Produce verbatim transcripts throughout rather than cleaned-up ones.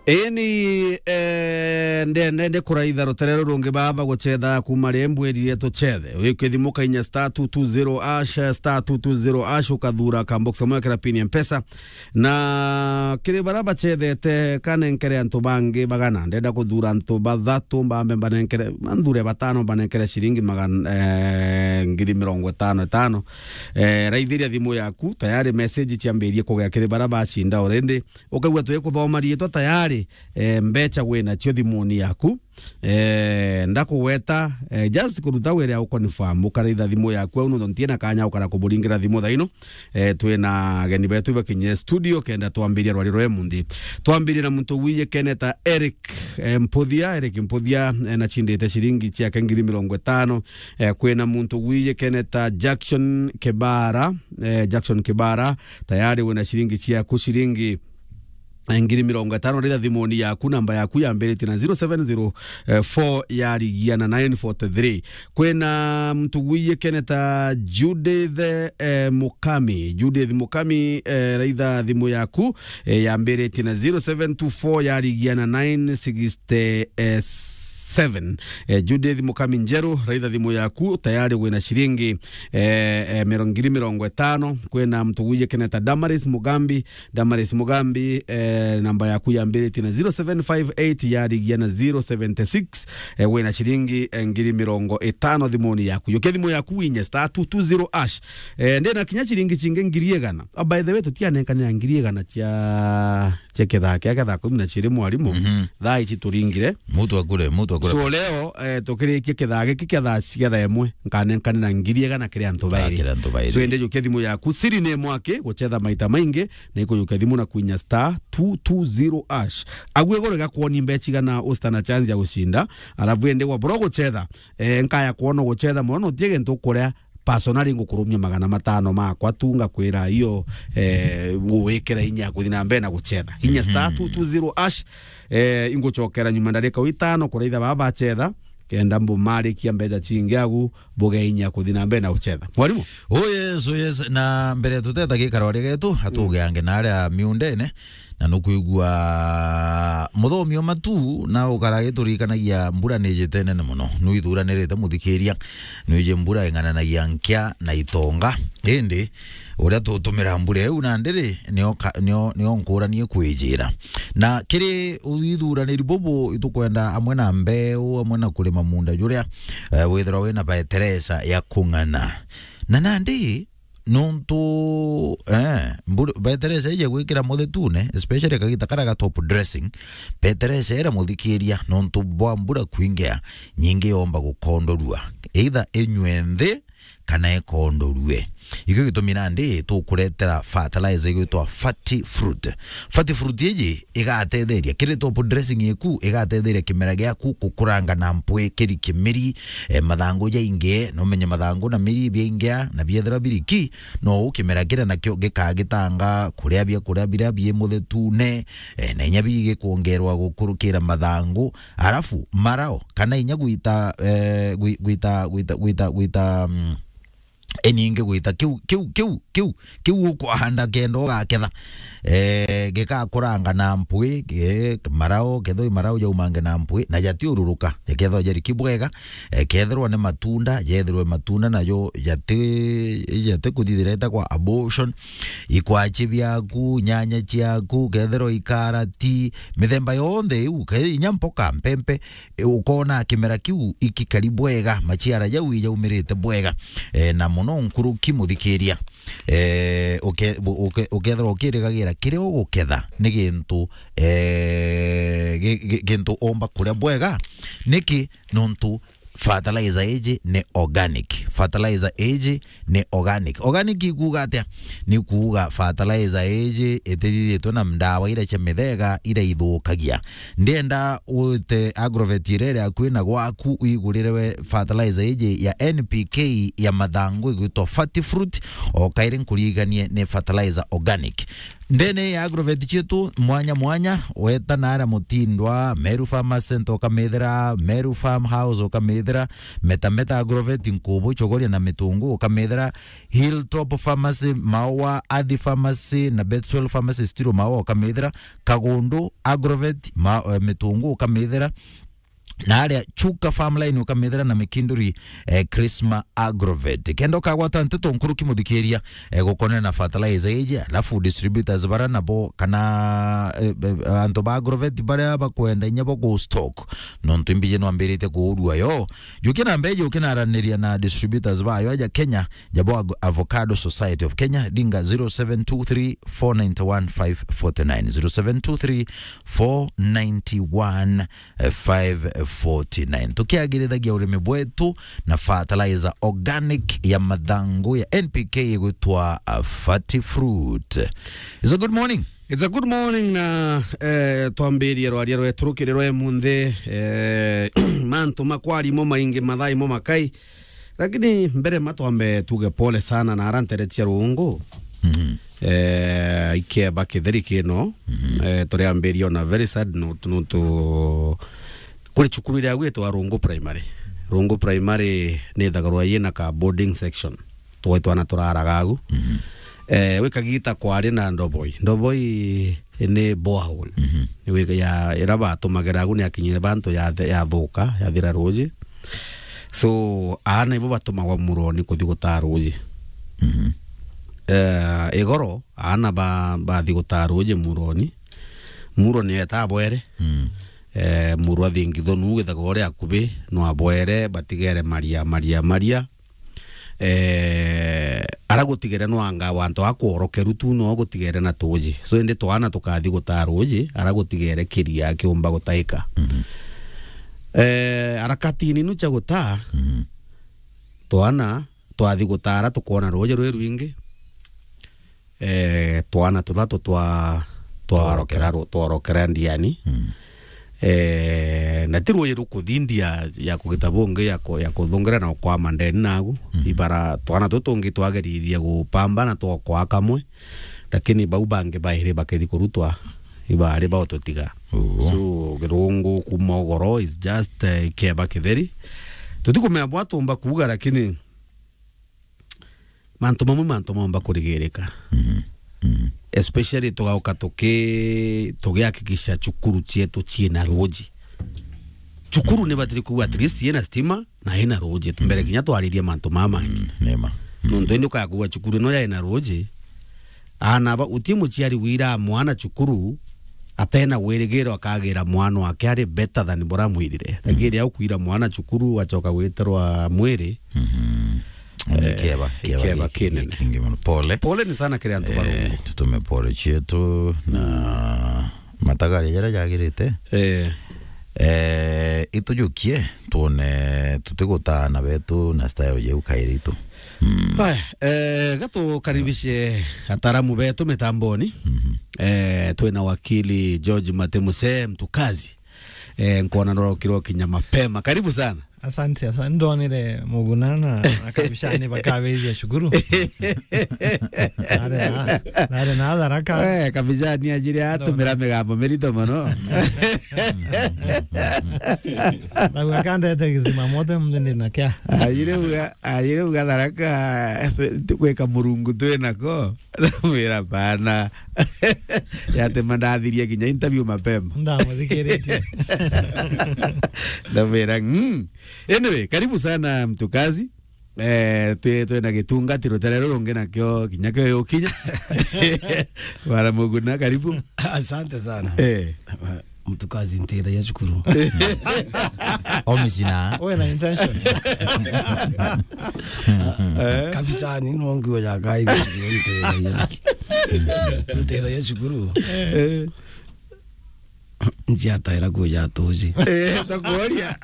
Ini, eh, nde-, nde-, nde kuraitha rutere rurungi baba gucetha kuma ri mbwirire tucethe. Wikithimuka inya star two two zero hash, star two two zero hash, ukathura ka box kamwe kira pin ya Mpesa. Na kiri bara bacethete, kanenkere antu bangi bagana. Ndenda kuthura antu bathatu, mbambe mbanenkere, manthure batano, mbanenkere ciringi magana, eh, ngiri mirongo itano itano. Eh, raithiria thimu yaku, tayari message ciambirie kugea kiri bara bacinda already. Ukaigua twikuthoma riitwa tayari, eh, mbecha wina cio thimuni yaku. Eh, ndakugweta, eh, just kuruta wira ya uconfirm, ukaraitha thimu yaku au, nontu ntiena kanya ukara kuburingira thimu thaino. Eh, twina ageni betu bakinyire studio, kenda twambiria rwari rwa mundi. Twambirie na muntu wiye keneta Eric, eh, Mputhia, Eric Mputhia, eh, nachindite ciringi ciake ngiri mirongo itano. Eh, kwina muntu wiye keneta Jackson Kibara, eh, Jackson Kibara, tayari wina ciringi ciaku ciringi eh, ngiri mirongo itano, ritha thimuni yaku, namba yaku yambiritie na zero seven zero four yarigia na nine forty three. Kwina muntu wiye keneta Judith, eh, Mukami. Judith Mukami, eh, raitha thimu yaku, eh, yambiritie na zero seven two four yarigia na nine sixty seven. Eh, Judith Mukami Njeru, raitha thimu yaku, tayari wina ciringi, eh, eh, miro-, ngiri mirongo itano. Kwina muntu wiye keneta Damaris Mugambi, Damaris Mugambi, eh, namba yaku yambiritie na zero seven five eight yarigia na zero seventy six, eh, wina ciringi, eh, ngiri mirongo itano thimuni yaku. Yukia thimu yaku winye star two two zero hash. Eh, ndina kinya ciringi cingi ngiri igana. Oh, by the way, tutianenkanira ngiri igana cia, cia kithaa kia, kia thaa kumi na ciiri mwarimu. Mhm. Thaa ici turingire. Mutu akure, mutu akure. So leo, eh, tukirikia kithaa giki kia thaa, cia thaa imwe, nkanenkanira ngiri igana kiri antu bairi. Ah, kiri antu bairi. So indi yukia thimu yaku, siri ni mwaki, gucetha maita maingi, na ikujukia thimu na kwinya star two two zero hash. Agu iguru igakwoni mbecha igana usta na chance ya gucinda, alafu indi wa bro gucetha, eh, nkaya kwona gucetha mono, utie gintu ukuria, personally ngukurumia magana matano makwa tu, ngakwira iyo, eh, nguwikira inya kuthi na mbere na gucetha. Inya star two two zero hash, eh, ingucokera nyuma ndarika itano kuraitha baba bacetha, kenda mbumarikia mbecha cingi agu, buge inya kuthi na mbere na gucetha. Mwarimu? Oh yes, oh yes. Na mbere tuteta gikaro ria getu, atugeange na aria miundene, na nukwigua muthomi o matu, na ukara giturikanagia mbura ni jite nene muno. Nuithuranirite muthikiria, nuije mbura ing'ananagia nkia na itonga. Indi, uria tutumira mbura iu nandi ri, nio ka-, nio, nio nkuranie kwijira. Na kiri uithuraniri bubu, itukwenda amwe na mbeu, amwe na kurima munda juria, eh, withirwa wina baeteresa ya kung'ana. Na nandi, nontu, eh, mbura, baeteresa ije gwikira muthetune, especially kagita karia ga top dressing, baeteresa iria muthikiria, nontu bwa mbura kwingea, nyingi yomba gukondorua. Either inywe nthi, kana ikondorue. Ikio gitumi nandi tukuretera fertilizer igwitwa Fati Fruit. Fati Fruit iji igatetheria kiri top dressing iku, igatetheria kimera giaku gukuranga na mpwi, kiri kimiri, eh, mathangu jaingi, no umenye mathangu na miri biaingia na biethira biriki, no u kimera kiria nakio gikagitanga kuria biakuria biria bi muthetune, eh, na inya bigikwongerwa gukurukira mathangu, alafu marao, kana inya gwita, eh, gwi-, gwita, gwita, gwita, gwita, mm, iningi gwita kiu, kiu, kiu, kiu, kiu ukwahanda kenda ugaketha. Eh, gikakuranga na mpwi, eh, marao, kethwa i marao jaumange na mpwi, na jatiururuka, jakethwa jariki bwega, eh, kethirwa ni matunda, jethirwe matunda najo jati, jati kuthithira itagwa abortion, ikwachi biaku, nyanya ciaku, kethirwa ikarati, mithemba yonthe iu, ke-, inya mpoka, mpempe, e, ukona kimera kiu ikikari bwega, maciara jau ijaumirite bwega. E, na muno nkuruki muthikiria, e, uke-, bu-, uke-, ukethirwa ukirigagira kiria uguketha ni gintu, e, gi-, gi-, gintu umba kuria bwega. Niki? Nontu fertilizer iji ni organic. Fertilizer iji ni organic. Organic ikuuga atia? Ni kuuga fertilizer iji itithithitwe na ndawa iria cia mithega iria ithukagia. Ndienda wite agrovet iria iri akui na gwaku, uigurire we fertilizer iji ya N P K ya mathangu igwitwa Fati Fruit, o kairi nkuriganie ni fertilizer organic. Ndene ya agrovet cietu mwanya mwanya, weta naria Mutindwa, Meru Farmers Center ukamithira, Meru Farm House ukamithira, ukamethira, Meta Meta Agrovet, Nkubu, Chogoria na Mitungu, ukamethira, Hilltop Pharmacy, Maua, Athi Pharmacy na Bethuel Pharmacy, Stiro Maua, ukamethira, Kagundu Agrovet, ma, eh, Mitungu, ukamethira, na aria Chuka Farmline ukamethira na Mikinduri, eh, Krisma Agrovet. Kenda ukagwata nteto nkuruki muthikiria, eh, gukonana na fertilizer iji, alafu distributors bara nabo kana, eh, eh, antu ba Agrovet baria bakwenda inya bo gu stock. Nontu imbiji nwambirite kuurua yo. Juki na mbeji ukinaraniria na distributors bayo aja Kenya, jabo Ag-, Avocado Society of Kenya, dinga zero seven two three four nine one five forty nine, zero seven two three four nine one five forty nine. Tukiagirithagia urimi bwetu na fertilizer organic ya mathangu ya N P K igwitwa, uh, Fati Fruit. It's a good morning. It's a good morning na, eh, twambirie rwaria rwetu rukiri rwa munthi, eh, mantu makwari mo maingi, mathai mo makai. Lakini mbere ma twambe tuge pole sana na ara ntere cia rungu. Mhm. Eh, ikeba kitheri kino. Mhm. Eh, turiambiria on a very sad note, nontu kuri cukuru iria gwitwa Rungu Primary. Rungu Primary ni ithagarwa yina ka boarding section. Twa twana turaraga agu. Mhm. Eh, wikagita kwari na ndoboi. Ndoboi ni borehole. Mhm. Ni wika ya, ira batumagira agu ni akinyire bantu ya the-, ya thuka, ya thira ruji. So, aana ibo batumagwa muroni kuthi gutaa ruji. Mhm. Eh, igoro, aana ba, bathi gutaa ruji muroni. Muro ni eta bwere. Mm. Eh, muro athingithonu withaga uri akubi, no abwere, batigere maria, maria, maria. Eh, ara gutigere nwanga wantu akworokeru tu no gutigere na tuji. So, indi twana tukathi gutaa ruji, ara gutigere kiria kiumba gutaika. Mhm. Eh, harakati nini cia gutaa, mhm, twana twathi gutara tukwona ruji rwi rwingi. Eh, twana tuthatu twa, twarokera ru-, twarokera ndiani. Mm. Eh, na ti ruuji rukuthindia ya kugita bungi ya ku-, ya kuthungira na ukwama ndeni nagu. Mm. Ibara twana tutu tungi twageririe gupamba na twakwa kamwe, lakini bau bangi bairi bakithi kurutwa, ibari baututiga. Uu. So, kirungu kuma ugoro is just, eh, ikeba kitheri. Tutikumenya bwa tumba kuuga, lakini mantu mamwe mantu maumba kurigirika. Mhm. Mhm. Especially tugauka tuki-, tugihakikisha cukuru cietu ciina ruuji. Cukuru ni batiri kuuga at least yina stima na yina ruuji. Mbere kinya twaririe mantu mama mangi. Mm, nema. Mm. Nontu indi ukaya kuuga cukuru ino yaina ruuji, aana ba, uti muciari wira mwana cukuru atena wirigiro akagira mwana wake ari better than bora mwirire. Mm. Lakini riria ukwira mwana cukuru, wacoka gwitirwa mwiri, mhm, eh, ikeba, ikeba ikeba gi-, kinene. Kingi mono. Pole. Pole ni sana kiri antu ba Rungu. Eh, tutume pole cietu na matagaria jaria jagirite. Eh. Eh, itujukie, twone tutigutana betu na style jau kairi itu. Mm. Haya, eh, gatukaribishe ataaramu betu mitamboni. Mhm. Eh, twina wakili George Mate Muse, mtukazi. Eh, nkwona norokirwo kinya mapema. Karibu sana. Asante, asante. Ndonire Muguna na, na Kabishani bakabithia cukuru. Nari na, nari na Tharaka. Eh, Kabishani ajire atumira migambo mirito mono. Nau akandete gizima moto mthindi na kia. Ajire uga, ajire uga Tharaka, gwika Murungu twinako. Ndamwira bana. Yatema ndathirie kinya interview mapema. Ndamuthikiritie. Ndamwira, "Mm." Anyway, karibu sana mtukazi. Eh, twi-, twina gitungati rutere rurungi nakio kinya kio yukinya. Bwana Muguna, karibu. Asante sana. Eh. Mtukazi ntithagia cukuru. Omicina. Uwe na intention. Eh. Kabisa, ni no nguo ya kai ntithagia. Ntithagia cukuru. Eh. Njiataira nguo ya tuji. Eh, takuoria.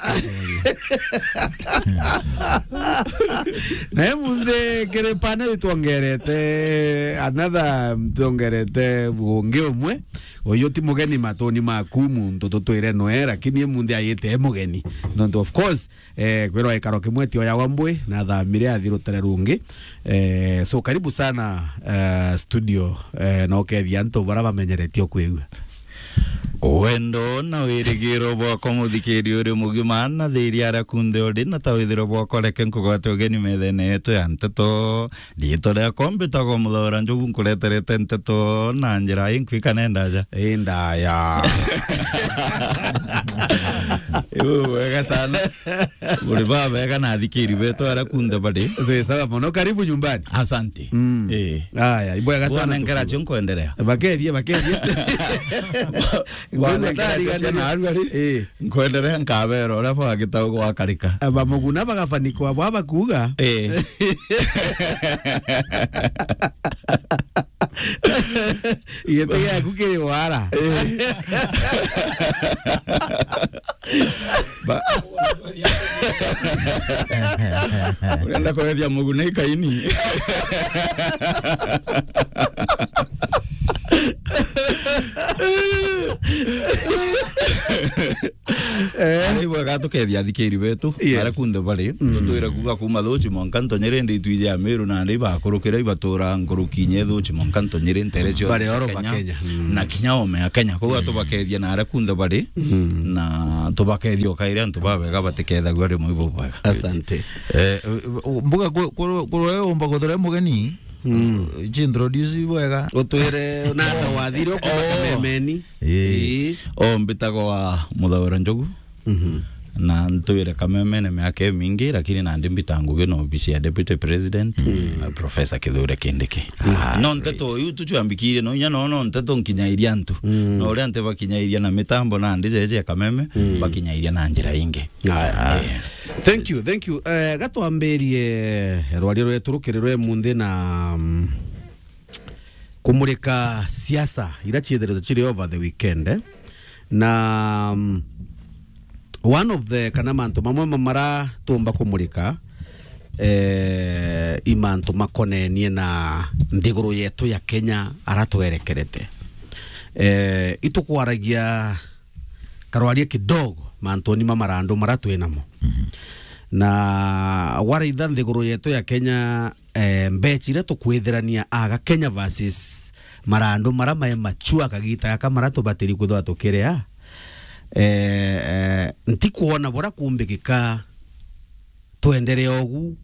Na munthi kiri panel twongerete another, twongerete bungi umwe. Uyu ti mugeni matoni maku, muntu tutwire noe, lakini munthi ayite e mugeni. Nontu of course, eh, kwirwa ikaro kimwe tio yawa mbwi, na thamire athi rutere rungi. Eh, so karibu sana, eh, studio, eh, na ukethia antu bara bamenyeretie kwigua. Wendo na wirigiro bwakwa, muthikiri uri mugima, na thiri aria kunthe uri na ta withiro bwakwa, reke nkugwate ugeni methene yetu ya nteto. Riitwa riakwa mbitagwa Muthaura Njogu, nkureterete nteto na njira inkwika nenda aja. Indaya. Iu wega sana. Buri babega na athikiri betu aria kunthe bari. Twi sawa mono. Karibu nyumbani. Asante. Mm. Eh. Aya, ibwega sana. Bwana Nkeracho, nkuenderea. Bakethie, bakethie. Bwana Nkeracho, na arua ri. Eh. Nkuenderea nkabera uria bwagita gwakarika. Aba muguna bagafanikwa bwa bakuga. Eh. Giti giaku kiri wara. Eh. Ba- Urenda kwethia muguna ikaini? Eh. Ni bwega tukethia athikiri betu, yes, aria kunthe bari. Mm. Tutwire kuuga kuuma Thuchi mwanka Ntonyere, ndi itwiji ya Meru, na ndi ibakurukira ibatura nkuruki inya Thuchi mwanka Ntonyere, ntere cio bari oro ba Kenya. Kenya. Mm. Na kinya ome ya Kenya. Koguo tubakethia na aria kunthe bari, mm, na tubakethia ukairia antu babega batikethagua rimwe ibubwega. Asante. Eh, mbuga ku-, ku-, kurwe umba kuthura mugeni. Mm. Ji introduce bwega. Utwire na ata wathire ukuma, oh, kamemeni. Ii. Ii. O mbitagwa Muthaura Njogu. Mhm. Na ntwire kamemene miaka imingi, lakini nandi mbita ngugi na ofisi ya Deputy President, mm, na Professor Kithure Kindiki. Ah, no nteto great. Iu tuchwambikirie, no inya no, no nteto nkinyairia antu. Mm. No uria antu bakinyairia na mitambo nandi jeje ya kameme, mm, bakinyairia na njira ingi. Aya. Eh. Thank you, thank you. Eh, gatwambirie rwaria rwetu rukiri rwe munthi na, mm, kumurika siasa ira ciithiritwe ciri over the weekend, eh? Na, mm, one of the, kana mantu mamwe ma-, mara tumba kumurika, eh, i mantu makonenie na nthiguru yetu ya Kenya ara twerekerete. Eh, itukwaragia karwaria kidogo mantuni ma marandu mara twi namo. Mhm. Na waraitha nthiguru yetu ya Kenya, eh, mbechi iria tukwithirania aga Kenya versus marandu mara mai machua kagita gaka mara tubatiri kwithwa tukiria, eh, eh, ntikwona bura kumbikika twenderea ugu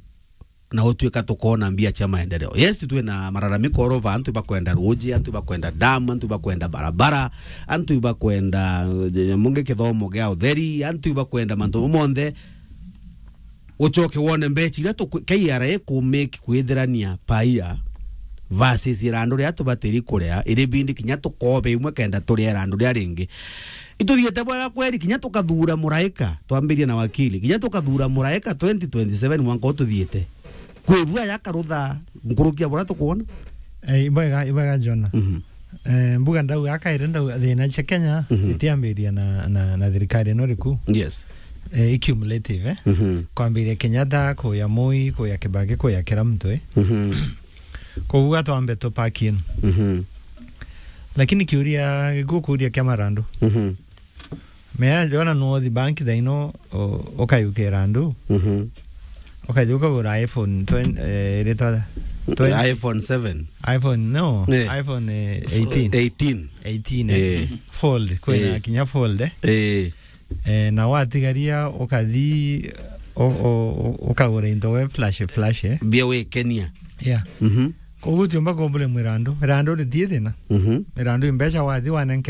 na utwika tukona mbia cia maendeleo. Yes, twina malalamiko all over, antu ibakwenda ruji, antu ibakwenda dam, antu ibakwenda barabara, antu ibakwenda, eh, mungi kithomo gia utheri, antu ibakwenda mantu monthe. Ucoke wone mbechi iria tuku-, K R A ikumake kwithirania per year versus irandu riria tubatiri kuria, iri bindi kinya tukobe imwe kenda turia irandu riria ringi. Ituthiite bwega kweri, kinya tukathura muraika, twambirie na wakili, kinya tukathura muraika twenty twenty-seven mwanka ututhiite. Kwibua yakarutha nkuruki ya buria tukwona. Eh, ibwega, ibwega Jona. Mhm. Eh, mbuga ndau akaire ndau thina cia Kenya, mhm, itiambiria na, na, na thirikari ino riku. Yes. Eh, i cumulative, eh? Mhm. Kwambiria Kenyatta, kuya Moi, kuya Kibaki, kuya kira muntu, eh? Mhm. Koguo twambe tupaki ino. Mhm. Lakini kiuria, gikukuria kia marandu. Mhm. Mea jona no thi bank thaino, o-, ukayukira ndu. Mhm. Ukathi ukagura iPhone twenty, eh, iritwa twenty. iPhone seven. iPhone, no, eh, iPhone, eh, eighteen. Eighteen. Eighteen, eh. Eh. Fold, kwina, eh, kinya fold, eh. Eh. Eh, na watigaria ukathi u-, u-, u-, ukagura into we flash, flash, eh. Bia wikenia. Yeah. Mhm. Koguo tiumba kumbure mwirandu. Irandu ritie thina. Mhm. Irandu imbeca wathi wanenke